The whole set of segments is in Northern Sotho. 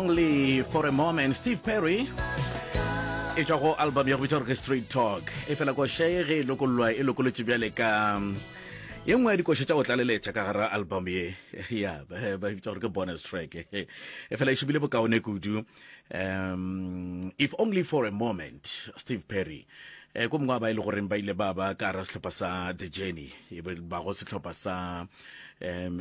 Only for a moment, Steve Perry e tšwa go album ya go bitša gore ke Street Talk. E fela koša ye ge e lokollwa e lokolotše bjale ka ye nngwe ya dikoša tša go tlaleletša ka gara album ye ya ba bitša gore ke bonus track. E fela e šomile bokaone kudu. Um, if only for a moment, Steve Perry. E, ko mongwe wa ba e le goreng ba ile ba ba ka gara sehlopha sa The Journey, e ba go sehlopha sa um,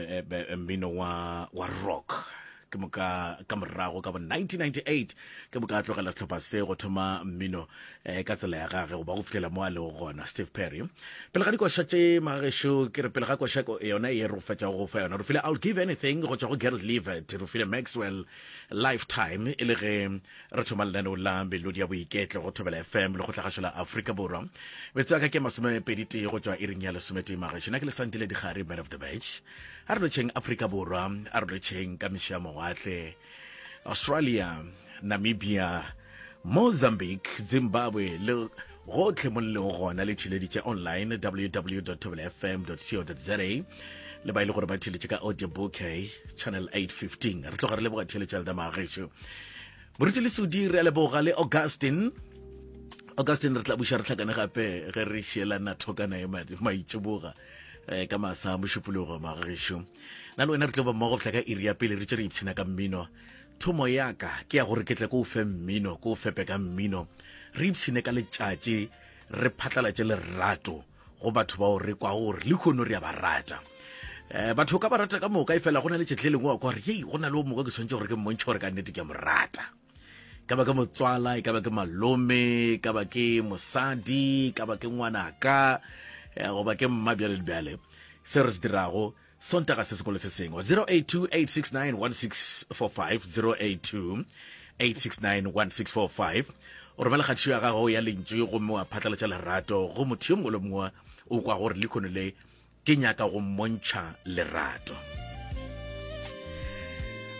mmino wa, wa rock. Ke moka ka morago ka bo 1998 ke moka a tlogela sehlopha se go thoma mmino eh, ka tsela ya gage goba go fihlela mo a lego gona. Steve Perry. Pele ga dikoša tše magagešo, ke re pele ga koša yona ye re go fetšago go fa yona, re file I'll Give Anything go tšwa go Gerald Levert, re file Maxwell Lifetime e le ge re thoma lenaneo la Melodi ya Boiketlo go Thobela FM le go tlagašo la Afrika Borwa. Metsotso ya ka ke masomepeditee go tšwa iring ya lesometee magešo. Nna ke Lesantile Dikgare, man of the match. A re lotšheng Afrika Borwa, a re lotšheng ka mešo ya mawatle, Australia, Namibia, Mozambique, Zimbabwe le gotlhe mo le lego gona le theleditše online www.fm.co.za le ba e le gore ba theletše ka audio bouquet channel 815 re tloga re leboga theletša lena magešo moruti le sudi re a leboga le augustin augustin re tla buša re hlakane gape ge re šielana thokana e maitšiboga eh, ka masa mošupologo magešo na le wena re tlo ba mmogo fihla ka iri ya pele re tše re ipshina ka mmino thomo ya ka ke ya gore ke tle ko o fe mmino ko o fepe ka mmino re ipshine ka letšatši re phatlalatše lerato go batho bao re kwago gore lehono re a ba rata um batho ka ba rata ka moka e fela go na le tšetle lengwe wa kwa gore yei go na le o mongwe ke tshwanetse gore ke mmontšhe gore ka nnete ke a mo rata ka ba ke motswala e ka ba ke malome e ka ba ke mosadi e ka ba ke ngwanaka eh, goba ke mma bjale le bjale se re se dirago sontaga se sengwe le se sengwe 082 869 1645 082 869 1645 o romela kgatišo ya gago ya lentšu gomme wa phatlalatša lerato go motho yo mongwe le mongwe o kwa gore lekhono le Ke nyaka go mmontšha lerato.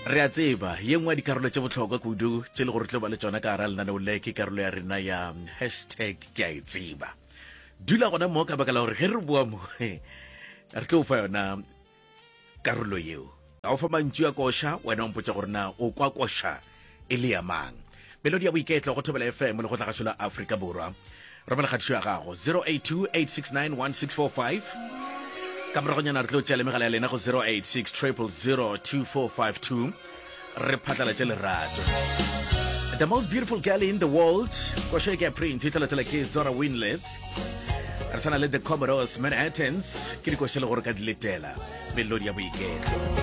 Re a tseba, ye nngwe ya dikarolo tše bohlokwa kudu tše le gore tlo ba le tšona ka gara lenaneo le ke karolo ya rena ya hashtag ke a e tseba. Dula gona mo ka baka la gore ge re boa mo re tlo fa yona karolo yeo. Ka o fa mantšu a koša, wena o mpotša gore na o kwa koša e le ya mang. Melodi ya boiketlo go Thobela FM le go tlagašo la Afrika Borwa. Romela kgatišo ya gago 0828691645. Ka moragonyana re tlo tšea le megala ya lena go 086 000 2452 re phatlalatše lerato. The most beautiful girl in the world, košo e ke ya Prince, e tla latela ke Zora Winlet. Re sana le The Commodores Manhattans, ke dikošo le gore ka di letela. Melodi ya boiketlo.